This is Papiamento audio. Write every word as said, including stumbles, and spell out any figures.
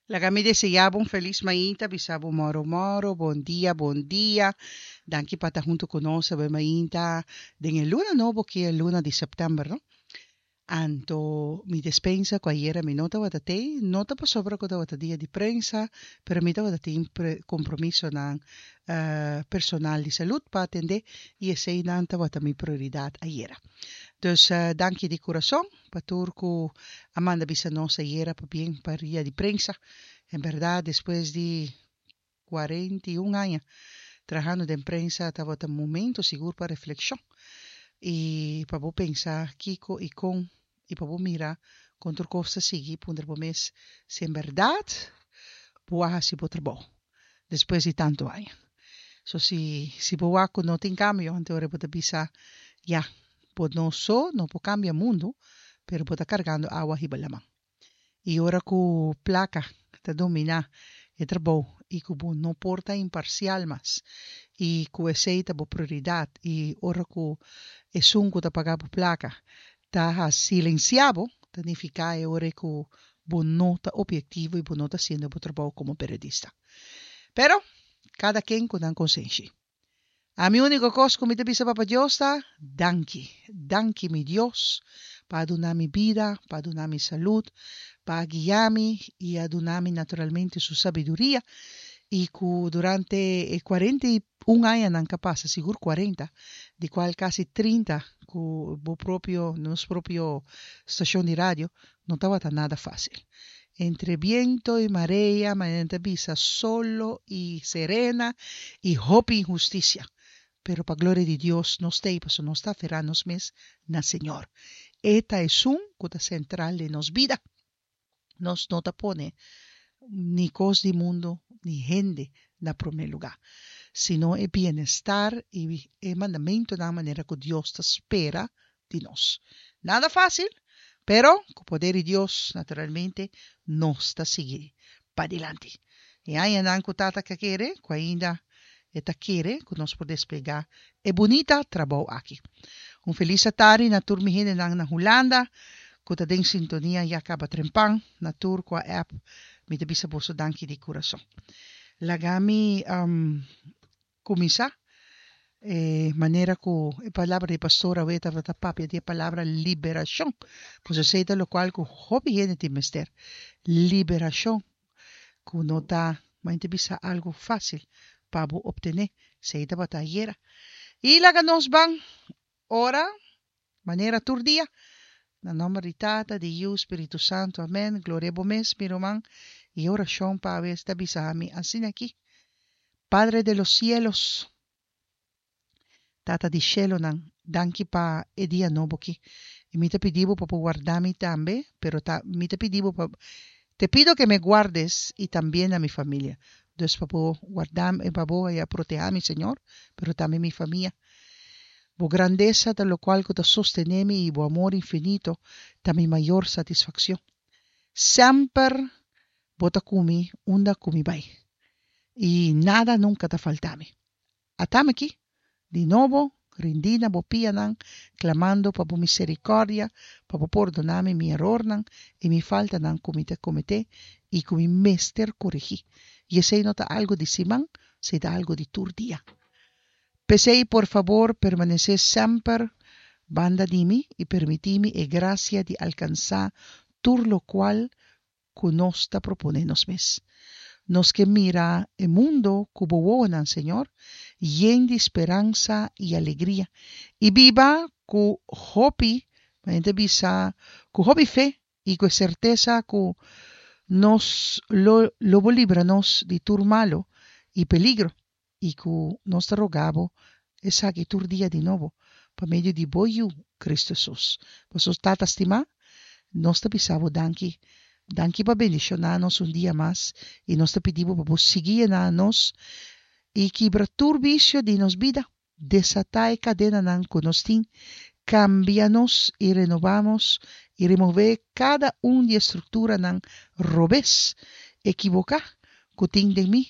Laga mi deseá bo un felis mainta, bisa bo moro moro, bon dia, bon dia. Danki pa ta huntu ku nos awe mainta den e luna nobo ku e luna di sèptèmber, no? Anto mi despensa ku ayera mi no tabata tei, no ta pasobra ku tabata dia di prensa, pero mi tabata tin kompromisonan personal di salud pa atendé i eseinan tabata mi prioridat ayera. Dus danki di kurason pa tur ku a manda bisa nos ayera pabien pa ria di prensa. En bèrdat despues di kuarenta i un aña trahando den prensa tabata momento sigur pa reflekshon i pa bo pensa kiko i kon i pa bo mira kon tur kos ta sigui puntra bo mes si en bèrdat bo a hasi bo trabou despues di tantu aña. So si si bo wak ku no tin kambio anto ora bo ta bisa ya bo no so no por kambia mundu pero bo ta kargando awa hiba laman. I ora ku plaka ta dominá e trabou i ku bo no por ta imparsial mas i ku esei ta bo prioridat i ora ku esun ku ta paga bo plaka ta silensiá bo ta nifiká e ora ku bo no ta obiektivo i bo no ta hasiendo bo trabou komo periodista. Pero kada ken ku nan konsenshi. Ami úniko kos ku mi ta bisa Papa Dios ta, Danki, danki mi Dios pa a duna mi bida, pa a duna mi salud, pa a guia mi i a duna mi naturalmente su sabiduria i ku durante e kuarenta i un añanan ka pasa, sigur kuarenta, di kual kasi trinta ku bo propio, nos propio stashon di radio, no tabata nada fásil. Entre biento i marea, manera nan ta bisa, solo i serena i hopi inhustisia. Pero pa gloria di Dios nos ta ei pasobra nos ta aferá nos mes na Señor. E ta esun ku ta sentral den nos bida. Nos no ta pone ni kos di mundu ni hende na promé lugá, sino e bienestar i e mandamentunan manera ku Dios ta spera di nos. Nada fásil, pero ku poder di Dios, naturalmente, nos ta sigui padilanti. E añanan ku Tata ke kere, ku ainda e ta kere ku nos por desplegá e bunita trabou aki. Un felis atari na tur mi hendenan na Hulanda ku ta den sintonia ya kaba trempan, na tur ku a app mi ta bisa boso danki di kurason. Laga mi kuminsá e manera ku e palabra di pastor awe tabata papia di e palabra liberashon. Pues esei ta lokual ku hopi hende tin mester, liberashon ku no ta manera ta bisa algu fásil pa bo optené. Esei tabata ayera. I laga nos ban ora manera tur dia. Na nòmber di Tata, di Yu, Spiritu Santu. Amèn. Gloria bo mes, mi ruman. I e orashon pa awe ta bisa mi asina aki. Padre de los cielos, Tata di shelonan, danki pa e dia nobo aki. I mi ta pidi bo pa bo warda mi tambe, pero ta mi ta pidi bo pa te pido que me guardes y también a mi familia. Dus pa bo warda mi, pa bo a proteha mi, Señor, pero tambe mi famia. Bo grandesa ta lokual ku ta sostené mi i bo amor infinito ta mi mayor satisfakshon. Semper bo ta ku mi unda ku mi bai, i nada nunka ta falta mi. Atami aki, di nobo, rindí na bo pianan, klamando pa bo miserikòrdia, pa bo pordoná mi mi erornan i mi faltanan ku mi ta kometé i ku mi mester korigí. I esei no ta algu di siman, esei ta algu di tur dia. P'esei, por fabor, permanesé semper banda di mi i permití mi e grasia di alkansá tur lokual ku nos ta proponé nos mes. Nos ke mira e mundo ku bo wowonan, Señor, yen di speransa i alegria, i biba ku hopi, manera ta bisa, ku hopi fe i ku e sertesa ku nos lo lo bo libra nos di tur malu i peligro, i ku nos ta roga bo esaki tur dia di nobo, pa medio di bo Yu, Cristo Hesus. Pasobra Tata stimá, nos ta bisa bo danki. Danki pa bendishoná nos un dia mas i nos ta pidi bo pa bo sigui yena nos i kibra tur bisio di nos bida. Desatá e kadenanan ku nos tin, kambia nos i renobá nos i remové kada un di e strukturanan robes, ekiboká, ku tin den mi.